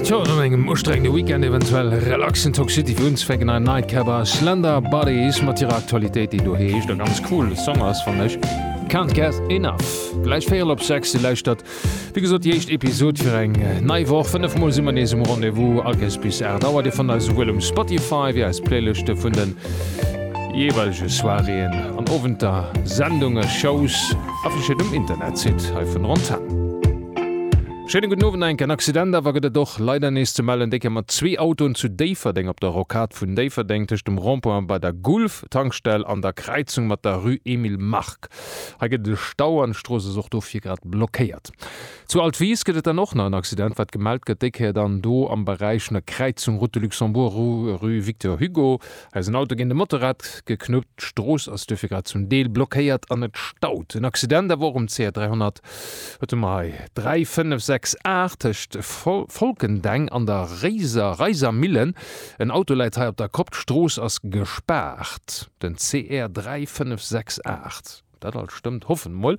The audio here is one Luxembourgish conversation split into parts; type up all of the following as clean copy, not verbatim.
Tjo, no engem ustrengende Weekend eventuell relaxen Toxicity fir unzefänken ein Nightcap a Slender Bodies mat hirer Aktualitéit, déi do heescht a ganz cool Song ass fannen ech, Can't Get Enough. Gläich véierel op 6, Dir lauschtert wéi gesot déi éischt Episod fir eng nei Woch. 5 mol si mer nees um Rendez-vous, all Kéiers bis 8 Auer. Dir fannt eis esouwuel um Spotify wéi eis Playlëschte vun de jeeweilege Soiréeën an Owenter, Sendunge, Shows affichéiert um Internetsite hei vun der Antenn. Schéine gudden Owend. Enk en Accident awer gëtt et och leider nees ze mellen, déi Kéier mat zwee Autoen zu Déifferdeng op der Rocade vun Déifferdeng tëscht dem Rond-point bei der Gulf-Tankstell an der Kräizung mat der Rue Emile Mark. Hei gëtt et e Stau an d'Strooss ass och dofir grad blockéiert. Zu Altwis gëtt et dann och nach en Accident, wat gemellt gëtt, déi Kéier dann do am Beräich vun der Kräizung Route de Luxembourg, Rue Victor Hugo. Hei ass en Auto géint e Motorrad geknuppt, d'Strooss ass duerfir grad zum Deel blockéiert an et staut. En Accident awer och um CR 300, wat hu mer hei, 3, 5, 6, 8 tëscht Folkendeng an der Réiser, Reisermillen. En Auto läit hei op der Kopp, d'Strooss ass gespaart. Den CR 3, 5, 6, 8. Dat alt stëmmt, hoffen mol.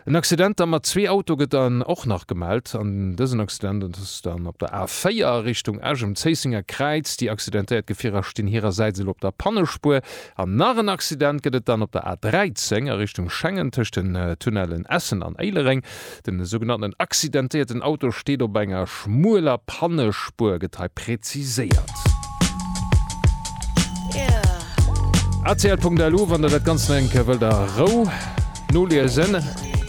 En Accident da mat zwee Auto gëtt dann och nach gemellt. An dësen Accident ass dann op der A4 a Richtung Esch um Zéissenger Kräiz. Déi accidentéiert Gefierer stinn hirersäits elo op der Pannespuer. An nach en Accident gëtt et dann op der A13 a Richtung Schengen tëscht den Tunnellen Essen an Éilereng. Den sougenannten accidentéierten Auto steet op enger schmueler Pannespuer, gëtt hei präziséiert. Rtl.lu wann der dat Ganzt nach eng Kéier wëllt a Rou noliesen.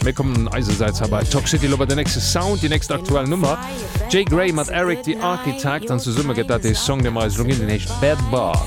Mir kommen eisersäits hei bei Talk City elo bei den nächste Sound, déi nächst aktuell Nummer. Jay Gray mat Eric the Architect an zesumme gëtt dat dee Song, dee mer eis elo ginn, deen heescht Bed Bug.